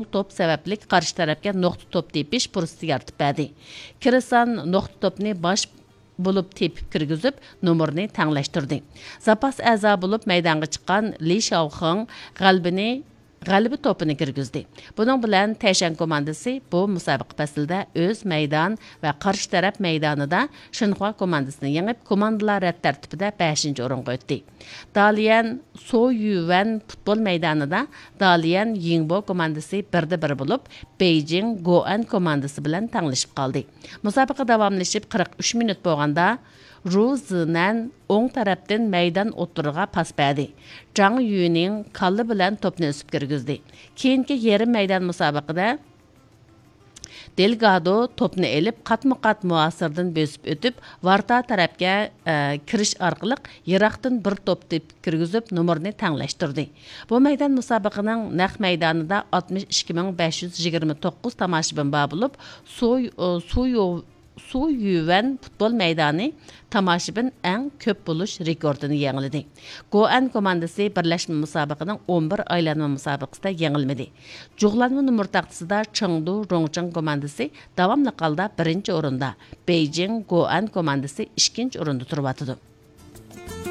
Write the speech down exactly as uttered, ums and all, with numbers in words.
توپ سەۋەبلىك قارشى تەرەپكە نۇقتا توپ تېپىش پۇرسىتى يارىتىپ بەردى. كىرسان نۇقتا توپنى باش بولۇپ تېپىپ كىرگۈزۈپ، نومۇرنى تەڭلەشتۈردى. زاپاس ئەزا بولۇپ مەيدانغا چىققان لى شاۋخېڭ غەلىبىنى، غەلىبە توپىنى كىرگۈزدى. بۇنىڭ بىلەن تەيشەن كوماندىسى بۇ مۇسابىقە پەسلىدە ئۆز مەيدان ۋە قارشى تەرەپ مەيدانىدا شىنخۇا كوماندىسىنى يېڭىپ، كوماندىلار رەت تەرتىپىدە بەشىنچى ئورۇنغا ئۆتتى. داليەن سو يۈۋەن پۇتبول مەيدانىدا داليەن يىڭبو كوماندىسى بىردە بىر بولۇپ، بېيجىڭ گوئەن كوماندىسى بىلەن تەڭلىشىپ قالدى. مۇسابىقە داۋاملىشىپ قىرىق ئۈچ مىنۇت بولغاندا، رۇ زىنەن ئوڭ تەرەپتىن مەيدان ئوتتۇرىغا پاس بەردى. جاڭ يۈنىڭ كاللا بىلەن توپنى ئۈزۈپ كىرگۈزدى. كېيىنكى يېرىم مەيدان مۇسابىقىدە دېلگادو توپنى ئېلىپ، قاتمۇ قات مۇھاسىردىن بۆسۈپ ئۆتۈپ، ۋارتا تەرەپكە، ئە، كىرىش ئارقىلىق يىراقتىن بىر توپ تېپىپ كىرگۈزۈپ، نومۇرنى تەڭلەشتۈردى. بۇ مەيدان مۇسابىقىنىڭ نەق مەيدانىدا ئاتمىش ئىككى مىڭ بەش يۈز يىگىرمە توققۇز تاماشىبىن بار بولۇپ، سۇ، سۇ، سۇ يۈۋەن پۇتبول مەيدانى تاماشىبىن ئەڭ كۆپ بولۇش رېكورتىنى يېڭىلىدى. گوئەن كوماندىسى بىرلەشمە مۇسابىقىنىڭ ئون بىر ئايلانما مۇسابىقىسىدە يېڭىلمىدى. جۇغلانما نومۇر تاختىسىدا چېڭدۇ روڭچىڭ كوماندىسى داۋاملىق ھالدا بىرىنچى ئورۇندا، بېيجىڭ گوئەن كوماندىسى ئىككىنچى ئورۇندا تۇرۇۋاتىدۇ.